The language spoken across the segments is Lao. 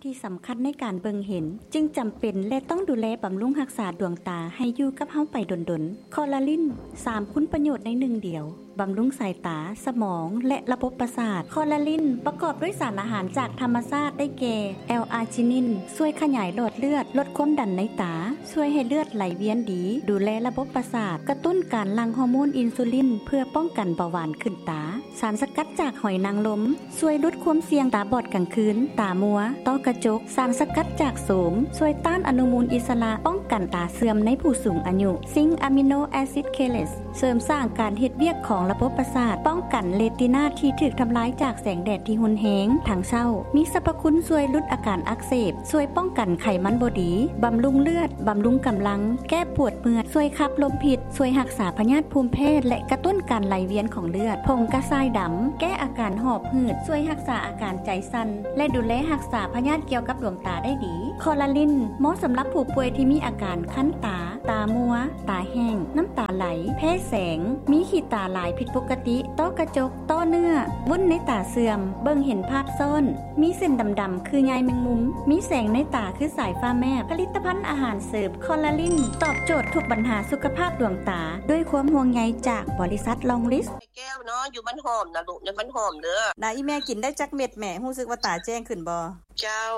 ທີ່ສຳຄັນໃນການເບິ່ງເຫັນ ຈຶ່ງຈຳເປັນ ແລະ ຕ້ອງດູແລບຳລຸງຮັກສາດວງຕາໃຫ້ຢູ່ກັບເຮົາໄປດົນໆ. ຄໍລາລິນ ສາມຄຸນປະໂຫຍດໃນໜຶ່ງດຽວ, ບຳລຸງສາຍຕາ, ສະໝອງ ແລະ ລະບົບປະສາດ. ຄໍລາລິນປະກອບດ້ວຍສານອາຫານຈາກທຳມະຊາດ ໄດ້ແກ່ ແອລອາຈິນິນ ຊ່ວຍຂະຫຍາຍຫຼອດເລືອດ, ລົດຄວາມດັນໃນຕາ, ຊ່ວຍໃຫ້ເລືອດໄຫຼວຽນດີ, ດູແລລະບົບປະສາດ, ກະຕຸ້ນການຫຼັ່ງຮໍໂມນອິນຊູລິນ ເພື່ອປ້ອງກັນເບົາຫວານຂຶ້ນຕາ. ສານສະກັດຈາກຫອຍນາງລົມ ຊ່ວຍຫຼຸດຄວາມສ່ຽງຕາບອດກາງຄືນ, ຕາມົວ, ຕ້ອກະຈົກ. ສານສະກັດຈາກໂສມ ຊ່ວຍຕ້ານອະນຸມູນອິດສະຫຼະ, ປ້ອງກັນຕາເສື່ອມໃນຜູ້ສູງອາຍຸ. ຊິງອາມິໂນແອຊິດເຄເລດ ເສີມສ້າງການເຮັດວຽກຂອງລະບົບປະສາດ, ປ້ອງກັນເຣຕິນາທີ່ຖືກທຳລາຍຈາກແສງແດດທີ່ຮຸນແຮງທັງເຊົ້າ. ມີສັບພະຄຸນຊ່ວຍຫຼຸດອາການອັກເສບ, ຊ່ວຍປ້ອງກັນໄຂມັນບໍ່ດີ, ບຳລຸງເລືອດ, ບຳລຸງກຳລັງ, ແກ້ປວດເມື່ອຍ, ຊ່ວຍຂັບລົມພິດ, ຊ່ວຍຮັກສາພະຍາດພູມແພ້ ແລະ ກະຕຸ້ນການໄຫຼວຽນຂອງເລືອດ. ຜົງກະຊາຍດຳ ແກ້ອາການຫອບຫືດ, ຊ່ວຍຮັກສາອາການໃຈສັ່ນ ແລະ ດູແລຮັກສາພະຍາດກ່ຽວກັບດວງຕາໄດ້ດີ. ຄໍລາລິນ ເໝາະສຳລັບຜູ້ປ່ວຍທີ່ມີອາການຄັນຕາ, ຕາມົວ, ຕາແຫ້ງ, ນ້ຳຕາໄຫຼ, ແພ້ແສງ, ມີຂີ້ຕາຫຼາຍຜິດປົກກະຕິ, ຕ້ອກະຈົກ, ຕ້ອເນື້ອ, ວຸ້ນໃນຕາເສື່ອມ, ເບິ່ງເຫັນພາບຊ້ອນ, ມີເສັ້ນດຳໆຄືໃຍແມງມຸມ, ມີແສງໃນຕາຄືສາຍຟ້າແມບ. ຜະລິດຕະພັນອາຫານເສີມຄໍລາລິນ ຕອບໂຈດທຸກບັນຫາສຸຂະພາບດວງຕາ ດ້ວຍຄວາມຫ່ວງໃຍຈາກບໍລິສັດລອງລິດ. ແກ້ວເນາະ ຢູ່ບ້ານຫອມນະລູກ ໃນບ້ານຫອມເດີ. ນະ ອີ່ແມ່ກິນໄດ້ຈັກເມັດແມ່? ຮູ້ສຶກວ່າຕາແຈ້ງຂຶ້ນບໍ່? ເຈົ້າ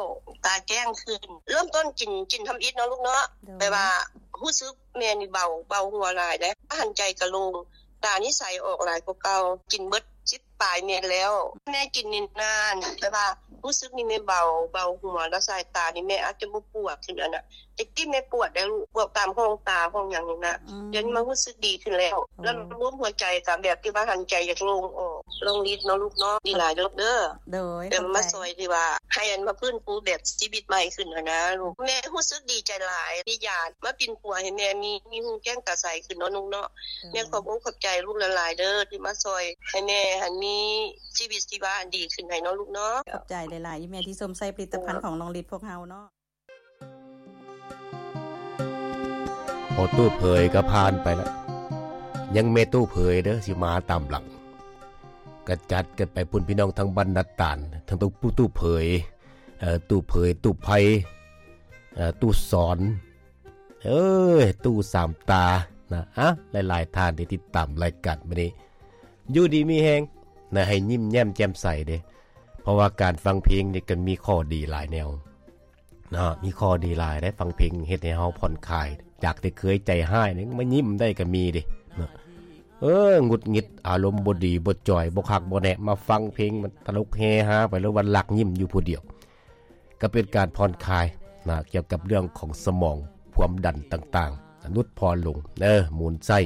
ຕາແຈ້ງຂຶ້ນ. ເລີ່ມຕົ້ນກິນ ກິນທຳອິດເນາະລູກເນາະ. ແປວ່າຮູ້ສຶກແມ່ນີ້ເບົາ ເບົາຫົວຫຼາຍເດ້ ຫັນໃຈກະໂລ່ງ ຕານີ້ໃສອອກຫຼາຍກວ່າເກົ່າ. ກິນເບິດສິບປາຍເມັດແລ້ວ. ແມ່ກິນນີ້ນານ ແຕ່ວ່າຮູ້ສຶກນີ້ແມ່ເບົາ ເບົາຫົວ ແລ້ວສາຍຕານີ້ແມ່ອາດຈະບໍ່ປວດຂຶ້ນຫັ້ນນະ. ແຕ່ກີ້ແມ່ປວດໄດ໋ລູກ ປວດຕາມຮ່ອງຕາ ຮ່ອງຫຍັງນີ້ນະ. ດຽວນີ້ມາຮູ້ສຶກດີຂຶ້ນແລ້ວ. ແລ້ວລວມຫົວໃຈກະແບບທີ່ວ່າຫັນໃຈຢາກໂລ່ງອອກ. ລອງລິດເນາະລູກເນາະ ດີຫຼາຍເດີ. ໂດຍ ແຕ່ມາຊ່ອຍທີ່ວ່າ ໃຫ້ອັນມາຟື້ນຟູແບບຊີວິດໃໝ່ຂຶ້ນຫັ້ນນະລູກ. ແມ່ຮູ້ສຶກດີໃຈຫຼາຍ ມີຍາມາປິ່ນປົວໃຫ້ແມ່ມີ ມີຮູ້ແຈ້ງຕາໃສຂຶ້ນເນາະລູກເນາະ. ແມ່ຂອບອົກຂອບໃຈລູກຫຼາຍໆເດີ ທີ່ມາຊ່ອຍໃຫ້ແມ່ຫັ້ນມີຊີວິດຊີວາອັນດີຂຶ້ນໃຫ້ເນາະລູກເນາະ. ຂອບໃຈຫຼາຍໆອີ່ແມ່ທີ່ຊົມໃຊ້ຜະລິດຕະພັນຂອງລອງລິດພວກເຮົາເນາະ. ພໍ່ຕູ້ເຜີຍກໍຜ່ານໄປລະ ຍັງແມ່ຕູ້ເຜີຍເດີ ຊິມາຕາມຫຼັງ. ກະຈັດກັນໄປພຸ້ນ ພີ່ນ້ອງທາງບ້ານນາຕານ ທັງຕູ້ເຜີຍ ເອີ ຕູ້ເຜີຍ ຕູ້ໄພ ເອີ ຕູ້ສອນ ເອີ ຕູ້ສາມຕານະ. ອະ ຫຼາຍໆທ່ານທີ່ຕິດຕາມລາຍການມື້ນີ້ ຢູ່ດີມີແຮງນະ ໃຫ້ຍິ້ມແຍ້ມແຈ່ມໃສເດ້. ເພາະວ່າການຟັງເພງນີ້ກໍມີຂໍ້ດີຫຼາຍແນວເນາະ ມີຂໍ້ດີຫຼາຍເດ້. ຟັງເພງເຮັດໃຫ້ເຮົາຜ່ອນຄາຍ ຈາກທີ່ເຄີຍໃຈຮ້າຍນີ້ ມາຍິ້ມໄດ້ກໍມີເດ້ເນາະ. ເອີ ຫງຸດຫງິດ ອາລົມບໍ່ດີ ບໍ່ຈ່ອຍ ບໍ່ຄັກບໍ່ແນ່ ມາຟັງເພງ ມັນຕະຫຼົກເຮຮາໄປ ຫຼືວ່າຫຼັກຍິ້ມຢູ່ຜູ້ດຽວ. ກໍເປັນການຜ່ອນຄາຍນະ ກ່ຽວກັບເລື່ອງຂອງສະໝອງ ຄວາມດັນຕ່າງໆ ຫຼຸດຜ່ອນລົງເດີ ໝູນໃຊ້.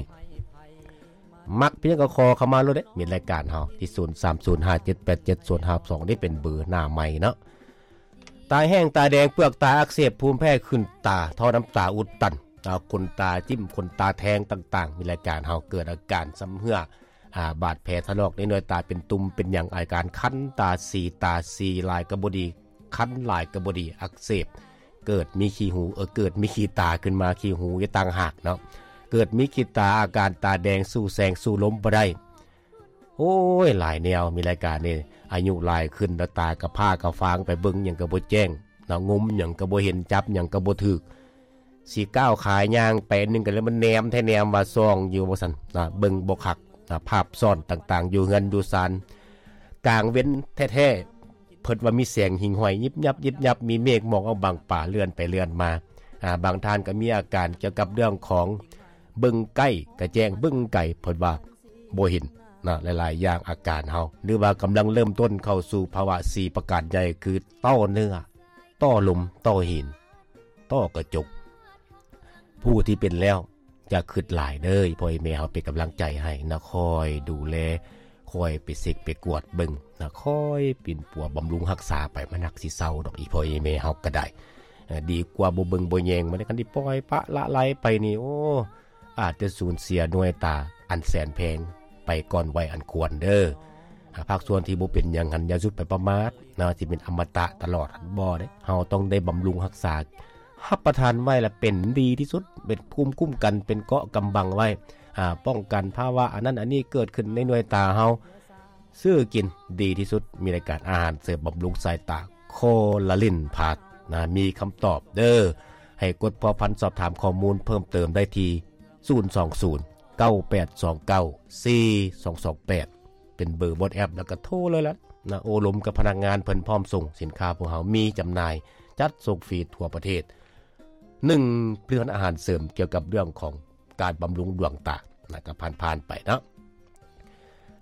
ມັກພຽງກໍຂໍເຂົ້າມາໂລດເດ້ ມີລາຍການເຮົາທີ່ ສູນສາມສູນຫ້າເຈັດແປດເຈັດສູນຫ້າສອງ ນີ້ເປັນເບີໜ້າໄມເນາະ. ຕາແຫ້ງ ຕາແດງ ເປືອກຕາອັກເສບ ພູມແພ້ຂຶ້ນຕາ ທໍ່ນ້ຳຕາອຸດຕັນ ອາ ຂົນຕາຈິ້ມ ຂົນຕາແທງຕ່າງໆ ມີລາຍການເຮົາ. ເກີດອາການຊຳເຮື້ອ ອາ ບາດແຜຖະລອກໃນໜ່ວຍຕາ ເປັນຕຸ່ມເປັນຫຍັງ ອາການຄັນຕາ ສີຕາ ສີຫຼາຍກໍບໍ່ດີ ຄັນຫຼາຍກໍບໍ່ດີ ອັກເສບ ເກີດມີຂີ້ຫູ ເອີ ເກີດມີຂີ້ຕາຂຶ້ນມາ ຂີ້ຫູຢູ່ຕ່າງຫາກເນາະ. ເກີດມີຂີ້ຕາ ອາການຕາແດງ ສູ້ແສງສູ້ລົມບໍ່ໄດ້. ໂອ້ຍ ຫຼາຍແນວ ມີລາຍການນີ້ ອາຍຸຫຼາຍຂຶ້ນແລ້ວ ຕາກະພ້າກະຟາງ ໄປເບິ່ງຫຍັງກໍບໍ່ແຈ້ງເນາະ ງົມຫຍັງກໍບໍ່ເຫັນ ຈັບຫຍັງກໍບໍ່ຖືກ. ຊິກ້າວຂາຍ່າງໄປອັນໜຶ່ງກໍເລີຍ ມັນແນມແທ້ແນມວ່າ ສ່ອງຢູ່ວ່າຊັ້ນນະ ເບິ່ງບໍ່ຄັກນະ. ພາບຊ້ອນຕ່າງໆ ຢູ່ເຮືອນຢູ່ຊານ ກາງເວັນແທ້ໆ ເພິ່ນວ່າມີແສງຫິ່ງຫ້ອຍຍິບຍັບຍິບຍັບ ມີເມກໝອກເອົາບັງປາເລື່ອນໄປເລື່ອນມາ. ອາ ບາງທ່ານກໍມີອາການກ່ຽວກັບເລື່ອງຂອງເບິ່ງໃກ້ກະແຈ້ງ ເບິ່ງໄກເພິ່ນວ່າບໍ່ເຫັນນະ. ຫຼາຍໆຢ່າງອາການເຮົາ ຫຼືວ່າກຳລັງເລີ່ມຕົ້ນເຂົ້າສູ່ພາວະສີ່ປະການໃຫຍ່ ຄື ຕໍ່ເນື້ອ ຕໍ່ລົມ ຕໍ່ຫີນ ຕໍ່ກະຈົກ. ຜູ້ທີ່ເປັນແລ້ວ ຢ່າຄຶດຫຼາຍເດີ ອີ່ພໍ່ອີ່ແມ່ເຮົາເປັນກຳລັງໃຈໃຫ້ນະ ຄອຍດູແລ ຄອຍໄປເຊັກໄປກວດເບິ່ງນະ ຄອຍປິ່ນປົວບຳລຸງຮັກສາໄປ ມັນຮັກຊິເຊົາດອກ ອີ່ພໍ່ອີ່ແມ່ເຮົາກໍໄດ້. ເອີ ດີກວ່າບໍ່ເບິ່ງບໍ່ແຍງ ມັນຄັນຊິປ່ອຍປະລະໄລໄປນີ້ ໂອ້ ອາດຈະສູນເສຍໜ່ວຍຕາອັນແສນແພງໄປກ່ອນໄວອັນຄວນເດີ. ອາ ພາກສ່ວນທີ່ບໍ່ເປັນຫຍັງຫັ້ນ ຢ່າສຸດໄປປະໝາດນະ ຊິເປັນອະມະຕະຕະຫຼອດ ບໍ່ເດ້. ເຮົາຕ້ອງໄດ້ບຳລຸງຮັກສາ ຮັບປະທານໄວ້ລະເປັນດີທີ່ສຸດ ເປັນພູມຄຸ້ມກັນ ເປັນເກາະກຳບັງໄວ້ ອາ ປ້ອງກັນພາວະອັນນັ້ນອັນນີ້ເກີດຂຶ້ນໃນໜ່ວຍຕາເຮົາ. ຊື້ກິນດີທີ່ສຸດ ມີລາຍການອາຫານເສີມບຳລຸງສາຍຕາ ຄໍລາລິນພາສນະ ມີຄຳຕອບເດີ. ໃຫ້ກົດພົວພັນສອບຖາມຂໍ້ມູນເພີ່ມເຕີມໄດ້ທີ່ ສູນສອງສູນ ເກົ້າແປດສອງເກົ້າ ສີ່ສອງສອງແປດ ເປັນເບີ WhatsApp ແລ້ວກໍໂທເລີຍລະນະ. ໂອ້ລົມກັບພະນັກງານເພິ່ນ ພ້ອມສົ່ງສິນຄ້າ ພວກເຮົາມີຈຳໜ່າຍ ຈັດສົ່ງຟຣີທົ່ວປະເທດ. ໜຶ່ງຜະລິດພັນອາຫານເສີມກ່ຽວກັບເລື່ອງຂອງການບຳລຸງດວງຕານະ ກໍຜ່ານໆໄປເນາະ.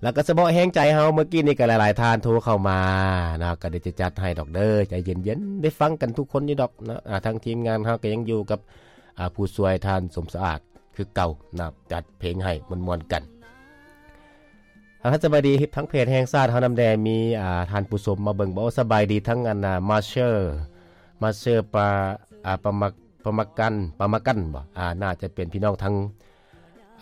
ແລ້ວກໍສະເພາະແຮງໃຈເຮົາ ເມື່ອກີ້ນີ້ກໍຫຼາຍໆທ່ານໂທເຂົ້າມານະ ກໍດຽວຈະຈັດໃຫ້ດອກເດີ ໃຈເຢັນໆ ໄດ້ຟັງກັນທຸກຄົນຢູ່ດອກນະ. ອາ ທາງທີມງານເຮົາກໍຍັງຢູ່ກັບ ອາ ຜູ້ຊ່ວຍທ່ານສົມສະອາດຄືເກົ່ານະ ຈັດເພງໃຫ້ມ່ວນໆກັນ. ອາ ສະບາຍດີທາງເພຈແຫ່ງຊາດເຮົານຳແດ່ ມີ ອາ ທ່ານຜູ້ຊົມມາເບິ່ງບໍ່? ສະບາຍດີທັງອັນ ອາ ມາເຊີ ມາເຊີປາ ອາ ປາມາ ປາມາກັນ ປາມາກັນບໍ່? ອາ ໜ້າຈະເປັນພີ່ນ້ອງທາງ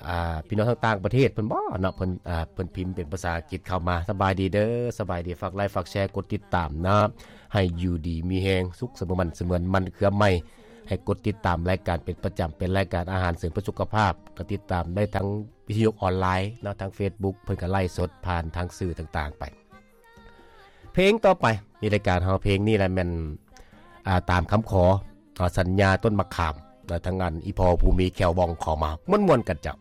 ອາ ພີ່ນ້ອງທາງຕ່າງປະເທດເພິ່ນບໍ່ເນາະ? ເພິ່ນ ອາ ເພິ່ນພິມເປັນພາສາອັງກິດເຂົ້າມາ. ສະບາຍດີເດີ ສະບາຍດີ ຝາກໄລ ຝາກແຊ ກົດຕິດຕາມເນາະ ໃຫ້ຢູ່ດີມີແຮງ ສຸກສະເໝີ ໝັ້ນສະເໝີ ມັນເຄືອໃໝ່. ໃຫ້ກົດຕິດຕາມລາຍການເປັນປະຈຳ ເປັນລາຍການອາຫານເສີມເພື່ອສຸຂະພາບ ກໍຕິດຕາມໄດ້ທາງວິທະຍຸອອນລາຍເນາະ ທາງເຟສບຸກ ເພິ່ນກໍໄລສົດຜ່ານທາງສື່ຕ່າງໆໄປ. ເພງຕໍ່ໄປໃນລາຍການເຮົາ ເພງນີ້ລະແມ່ນ ອາ ຕາມຄຳຂໍ ອາ ສັນຍາຕົ້ນມະຂາມ ແລະ ທາງອັນອີ່ພໍ່ຜູ້ມີແຂ້ວວ່ອງຂໍມາ ມ່ວນໆກັນເຈົ້າ.